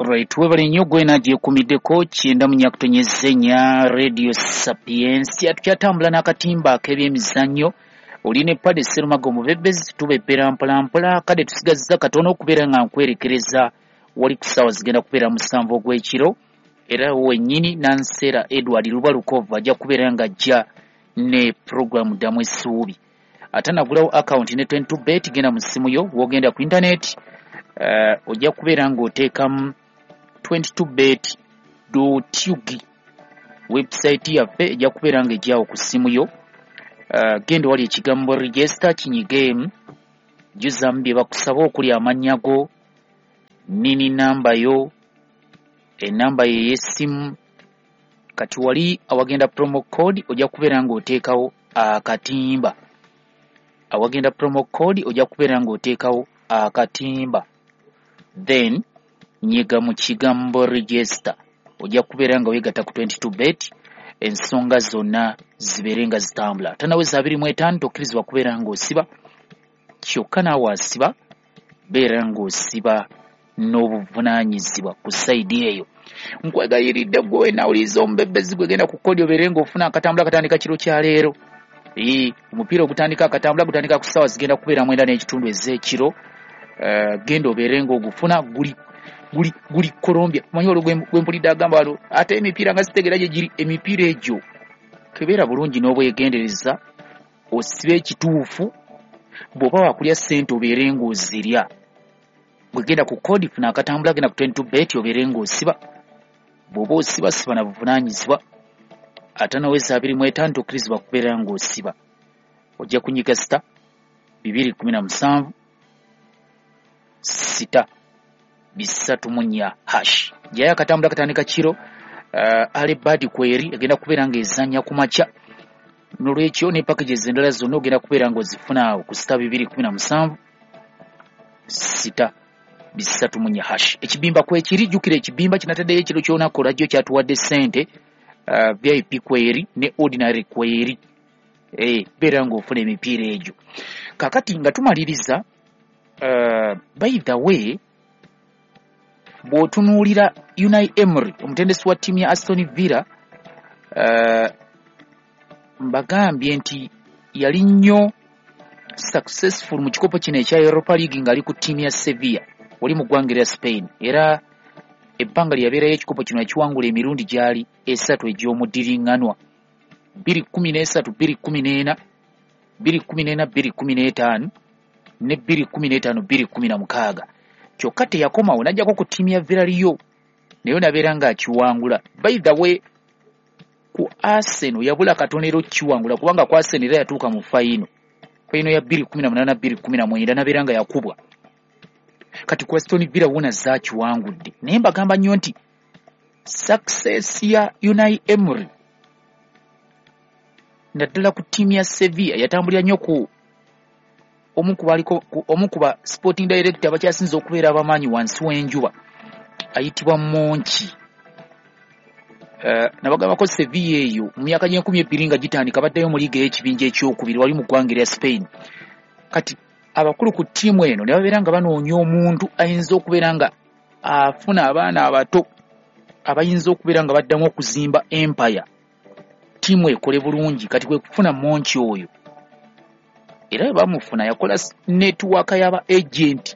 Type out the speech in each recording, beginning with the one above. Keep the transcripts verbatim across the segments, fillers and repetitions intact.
Alright, webale nnyo gwena gyekumiddeko kyenda mu nnya kutonyeza ennya Radio Sapiensia. Tukyatambula n'akatimba ak'ebyemizannyo. Oli ne Pade Serumaga omubebezi, tubebbera mpolampola. Kade tusigazza katono okubeera nga nkwerekereza wali ku ssaawa zigenda kubeera musanvu ogw'ekiro, era wennyini Nansera Edward Lubalukov ajja kubeera nga ajja ne puroguramu Ddamu Essuubi. Ate nagulawo akawunti ne twenty-two bet, genda mu ssimu yo, w'ogenda ku internet, uh, ojja kubeera ng'oteekamu twenty-two bet dot U G. Website yaffe ejja kubeera ng'ejjawo ku ssimu yo. Uh, genda wali ekigambo register, kinyigeemu, jjuzaamu bye bakusaba okuli amannya go, nini namba yo, enamba ye ey'essimu. Kati wali awagenda promo code ojja kubeera ng'oteekawo akatimba. Awagenda promo code ojja kubeera ng'oteekawo akatimba, then nyiga mu kigambo register, ojja kubeera nga weegatta ku twenty-two bet, ensonga zonna zibeere nga zitambula. Tanaweza abiri mu etaano tokkirizibwa kubeera ng'osiba, kyokka naawe asiba beera ng'osiba n'obuvunaanyizibwa ku sayidi eyo. Nkwegayiridde gwe wenna awuliriza omubebezi gwe, genda ku kodi obeere ng'ofuna akatambula katandika kiro kya leero. Ee, omupiira ogutandika akatambula gutandika ku ssaawa zigenda kubeera mwenda n'ekitundu ez'ekiro. Uh, genda obeere ng'ogufuna, guli guli guli Colombia. Omanyi olwo gwe mpulidde agamba wano ate emipiira nga sitegeera gye giri. Emipiira egyo kebeera bulungi n'obwegendereza, osibe ekituufu. Bw'oba wakulya ssente obeere ng'ozirya. Bwegenda ku kodi funa akatambula, genda ku twenty-two bet obeere ng'osiba. Bw'oba osiba siba na buvunaanyizibwa. Ate naweza abiri mu etaano tokkirizibwa kubeera ng'osiba. Ojja kunyiga sita bibiri kumi na musanvu sita bisatu mu nnya hash. Jayo akatambula katandika kiro. Uh, Alebadi kweri egenda kubeera ng'ezannya ku makya. Nolwekyo ne packages endala zonna ogenda kubeera ng'ozifuna awo ku sita bibiri kumi na musanvu sita bisatu mu nnya hash. Ekibimba kwekiri, jjukira ekibimba kinataddeyo ekiro ky'olunaku olwajjo kyatuwadde ssente. Uh, V I P kweri ne ordinary kweri. Eh, beera ng'ofuna emipiira egyo. Kaakati nga tumaliriza, uh, by the way, bw'otunuulira Unai Emery omutendesi wa ttiimu ya Aston Villa, uh, mbagambye nti yali nnyo successful mu kikopo kino ekya Europa League ng'ali ku ttiimu ya Sevilla oli mu ggwanga erya Spain, era ebbanga lye yabeerayo ekikopo kino yakiwangula emirundi gyali esatu egy'omuddiringanwa, bbiri kkumi n'esatu bbiri kkumi n'ena, bbiri kkumi n'ena bbiri kkumi n'etaano ne bbiri kkumi n'etaano bbiri kkumi na mukaaga. Kyokka teyakomawo n'ajjako ku ttiimu ya Villarreal nayo n'abeera ng'akiwangula. By the way, ku Arsenal yabula katono era okkiwangula, kubanga ku Arsenal era yatuuka mu fayino fayino ya bbiri kkumi na munaana bbiri kkumi na mwenda n'abeera nga yakubwa. Kati ku Aston Villa wona zaakiwangudde. Naye mbagamba nnyo nti success ya Unai Emery naddala ku ttiimu ya Sevilla yatambulira nnyo ku omu ku baliko omu ku ba sporting director abakyasinze okubeera abamaanyi wansi w'enjuba ayitibwa Monchi. Uh, nabagambako Sevilla eyo mu myaka gy'enkumi ebbiri nga gitandika baddayo mu liiga ey'ekibinja ekyokubiri wali mu ggwanga erya Spain. Kati abakulu ku ttiimu eno ne babeera nga banoonya omuntu ayinza okubeera nga afuna abaana abato abayinza okubeera nga baddamu okuzimba empire, ttiimu ekole bulungi. Kati kwe kufuna Monchi oyo, era bamufuna yakola network y'aba agent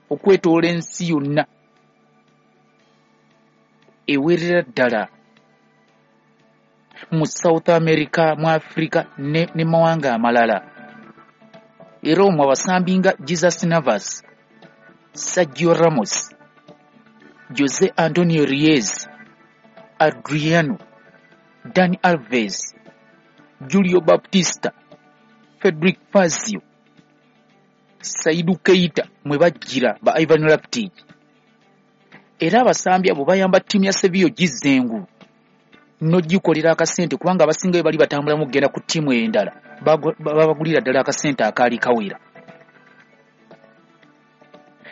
okwetoola ensi yonna ewerera ddala mu South America, mu Africa ne, ne mawanga amalala. Era omwo abasambi nga Jesus Navas, Sergio Ramos, Jose Antonio Reyes, Adriano, Dani Alves, Julio Baptista, Frederic Fazio, Saidu Keita mwe bajjira ba Ivan Rakitic. Era abasambi abo bayamba ttiimu ya Sevilla ogizza engulu n'ogikolera akasente, kubanga abasinga bali batambulamu okugenda ku ttiimu endala babagulira ddala akasente akaali kawera.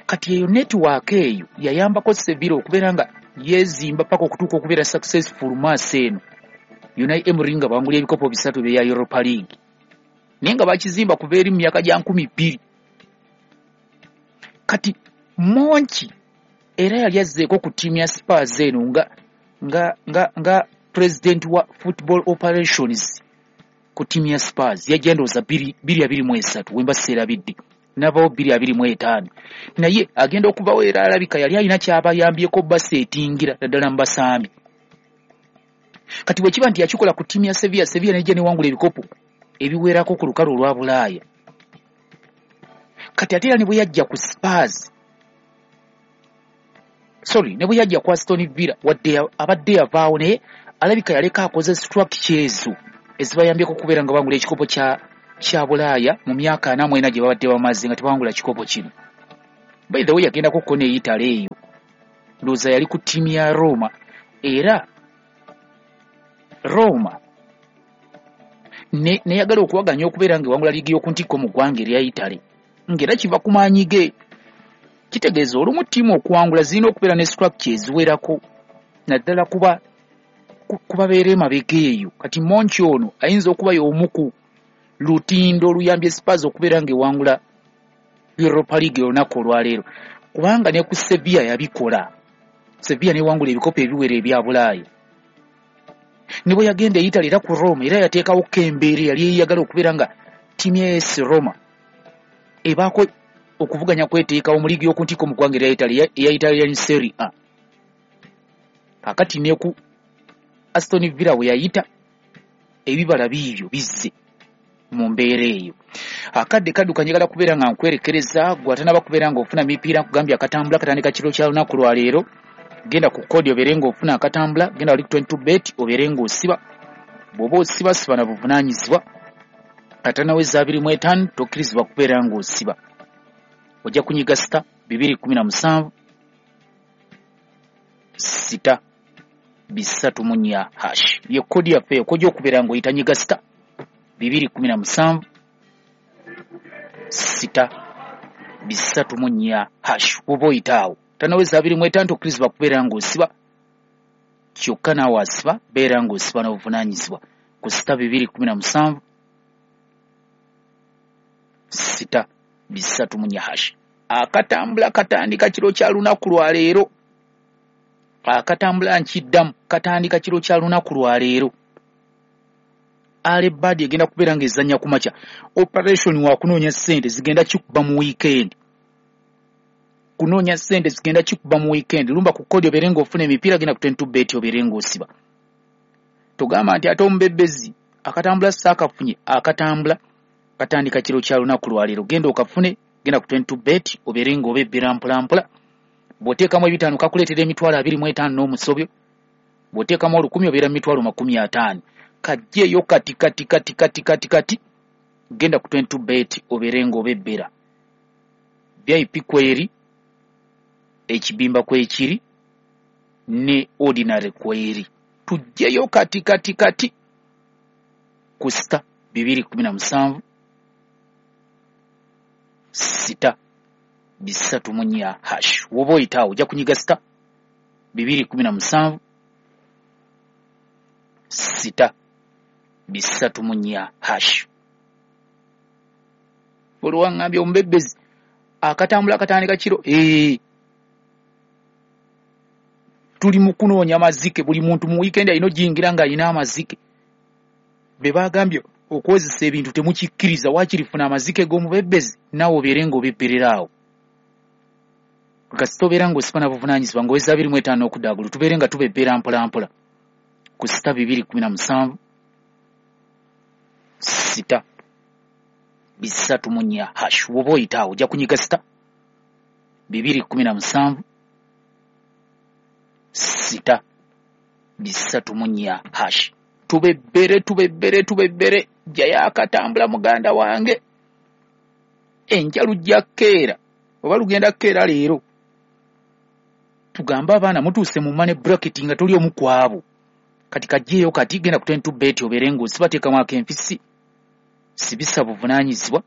Kati eyo network eyo yayambako Sevilla okubeera nga yeezimba paka okutuuka okubeera successful maaso eno. Unai Emery nga bawangula ebikopo bisatu ebya Europa League, naye nga bakizimba kuva eri mu myaka gya nkumi bbiri. Kati Monchi Era yali azzeeko ku ttiimu ya Spurs eno nga nga nga nga president wa football operations ku ttiimu ya Spurs. Yajja ndowooza bbiri abiri mu esatu wemba seerabidde, n'avaawo bbiri abiri mu etaano. Naye agenda okuvawo era alabika yali alina ky'abayambyeko baseetingira naddala mu basambi. Kati bwe kiba nti yakikola ku ttiimu ya Sevilla, Sevilla n'ejja n'ewangula ebikopo ebiwerako ku lukalu olwa Bulaaya. Kati ate era ne bwe yajja ku Spurs, sorry, ne bwe yajja ku Aston Villa, wadde abadde yavaawo, naye alabika yaleka akoze structure ezo ezibayambyeko okubeera nga bangula ekikopo kya kya Bulaaya mu myaka ana mu ena gye babadde bamaze nga tebawangula kikopo kino. By the way, yagendako ko ne Italy eyo, ndowooza yali ku ttiimu ya Roma, era Roma neyagala okuwaganya okubeera ng'ewangula liigi y'oku ntikko mu ggwanga erya Italy, ng'era kiva ku maanyi ge. Kitegeeza olumu ttiimu okuwangula zirina okubeera ne structure eziwerako, naddala kuba kubabeera emabega eyo. Kati Monchi ono ayinza okuba y'omu ku lutindo oluyambye Spurs okubeera ng'ewangula Europa League olunaku olwaleero, kubanga ne ku Sevilla yabikola. Sevilla n'ewangula ebikopo ebiwera ebya Bulaaya. Ne bwe yagenda e Italy era ku Roma, era yateekawo ko embeera eyali eyagala okubeera nga ttiimu ya A S Roma ebaako okuvuganya kweteekawo mu liigi y'oku ntikko mu ggwanga erya Italy, eya Italian Serie A. Kaakati ne ku Aston Villa we yayita, ebibala biibyo bizze mu mbeera eyo. Akadde kadduka, njagala kubeera nga nkwerekereza gwe atanaba kubeera ng'ofuna mipiira. Nkugambye akatambula katandika kiro kya lunaku lwa leero. Genda ku kodi obeere ng'ofuna akatambula, genda wali ku twenty-two bet obeere ng'osiba. Bw'oba osiba, siba na buvunaanyizibwa. Atanaweza abiri mu etaano tokkirizibwa kubeera ng'osiba. Ojja kunyiga sita bibiri kumi na musanvu sita bisatu mu nnya hash. Ye kodi yaffe eyo kojja okubeera ng'oyita, nyiga sita bibiri kumi na musanvu sita bisatu mu nnya hash. Bw'oba oyita awo tanaweza abiri mu etaano tokkirizibwa kubeera ng'osiba. Kyokka naawe asiba, beera ng'osiba n'obuvunaanyizibwa ku sita bibiri kumi na musanvu sita bisatu mu nnya hash. Akatambula katandika kiro kya lunaku lwa leero. Akatambula nkiddamu, katandika kiro kya lunaku lwa leero. Al Bad egenda kubeera ng'ezannya ku makya. Operation wa kunoonya ssente zigenda kikuba mu weekend. Kunoonya ssente zigenda kikuba mu weekend. Lumba ku kodi obeere ng'ofuna emipiira, genda ku twenty-two bet obeere ng'osiba. Togamba nti ate omubebbezi akatambula saakafunye. Akatambula katandika kiro kya lunaku lwa leero. Genda okafune, genda ku twenty-two bet obeere ng'obebbera mpola mpola. Bw'oteekamu ebitaano kakuleetera emitwalo abiri mu etaano n'omusobyo. Bw'oteekamu olukumi obeera mu mitwalo makumi ataano. Kajjeeyo kati kati kati kati kati kati, genda ku twenty-two bet obeere ng'obebbera. V I P kweri, ekibimba kwekiri, ne ordinary kweri. Tujjeyo kati kati kati ku sita bibiri kumi na musanvu sita bisatu mu nnya hash. Woba oyita awo ojja kunyiga sita bibiri kumi na musanvu sita bisatu mu nnya hash. Olwaŋŋambye omubebbezi akatambula katandika kiro. Ee, tuli mu kunoonya mazike. Buli muntu mu weekend alina ojingira ng'alina amazike. Be bagambye okwozesa ebintu temukikkiriza, waakiri funa amazike g'omubebbezi naawe obeere ng'obebberera awo. Kasita obeera ng'osiba na buvunaanyizibwa ng'oweza abiri mu etaano okudda waggulu, tubeere nga tubebbera mpola mpola ku sita bibiri kumi na musanvu sita bisatu mu nnya hash. Woba oyita awo ojja kunyiga sita bibiri kumi na musanvu sita bisatu mu nnya hash. Tubebbere tubebbere tubebbere, jjayo akatambula muganda wange. Enkya lujja kkeera oba lugenda kkeera leero. Tugambe abaana mutuuse mu money bracket nga toli omu ku abo. Kati kajjeeyo kati, genda ku twenty-two bet obeere ng'osiba, teekamu ak'enfisi, sibisa buvunaanyizibwa,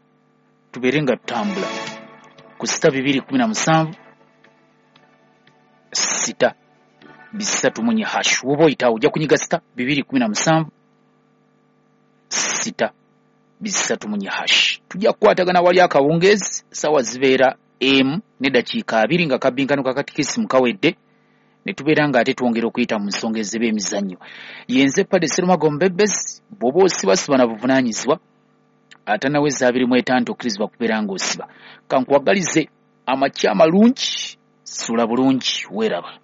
tubeere nga tutambula ku sita bibiri kumi na musanvu sita bisatu mu nnya hash. Woba oyita awo ojja kunyiga sita bibiri kumi na musanvu sita bisatu mu nnya hash. Tujja kukwatagana wali akawungeezi, ssaawa zibeera emu n'eddakiika abiri nga kabinkano ka katikisimu kawedde, ne tubeera ng'ate twongera okuyita mu nsonga ez'ebyemizannyo. Yenze Padde Serumaga Omubebbezi. Bw'oba osiba siba na buvunaanyizibwa, atanaweza abiri mu etaano tokkirizibwa kubeera ng'osiba. Kankuwagalize amakya amalungi, sula bulungi, weeraba.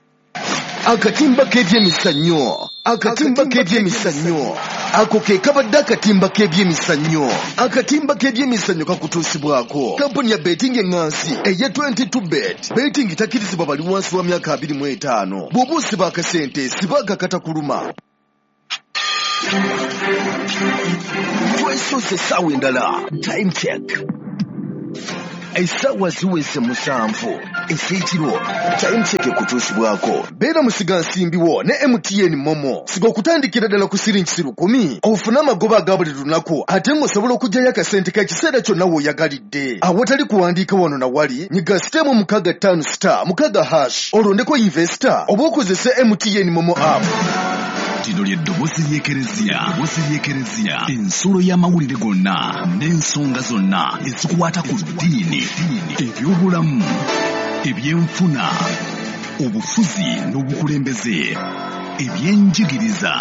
Akatimba k'ebyemizannyo, akatimba k'ebyemizannyo, ako ke kabadde akatimba k'ebyemizannyo. Akatimba k'ebyemizannyo kakutuusibwako kampuni ya betting eŋŋansi eya twenty-two bet. Betting takkirizibwa bali wansi wa myaka abiri mu etaano. Bw'oba osiba akasente, siba akakatakuluma. Twesoose essaawa endala. Time check, essaawa ziweze musanvu ez'ekiro. Time check ekutuusibwako beera musigansimbi wo ne M T N MoMo. Siga okutandikira ddala ku siringi lukumi ofune amagoba aga buli lunaku, ate ng'osobola okuggyayo akasente k'ekiseera kyonna w'oyagalidde awatali kuwandiika wano na wali. Nyiga star mukaaga ttaano star mukaaga hash, olondeko investor oba okozese M T N MoMo app. Lino lye ddoboozi ly'Ekereziya, ddoboozi ly'Ekereziya, ensulo y'amawulire gonna n'ensonga zonna ezikwata ku ddiini, ebyobulamu, ebyenfuna, obufuzi n'obukulembeze, ebyenjigiriza,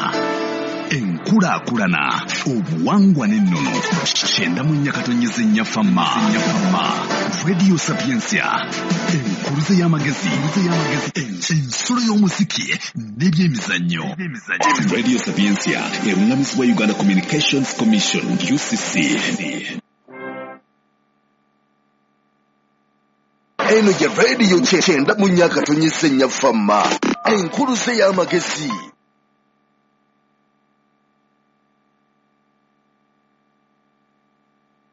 enkulaakulana, obuwangwa n'ennono. Kyenda mu nnya katonyeza ennya Fama, Radio Sapiensia, enkuluze y'amagezi, ensulo y'omuziki n'ebyemizannyo. Radio Sapiensia eruŋŋamizibwa Uganda Communications Commission, U C C. Eno ye rediyo kyenda mu nnya katonyeza ennya Fama, enkuluze y'amagezi.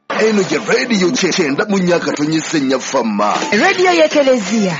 Eno ye rediyo kyenda mu nnya katonyeza ennya Fama, rediyo y'Ekereziya.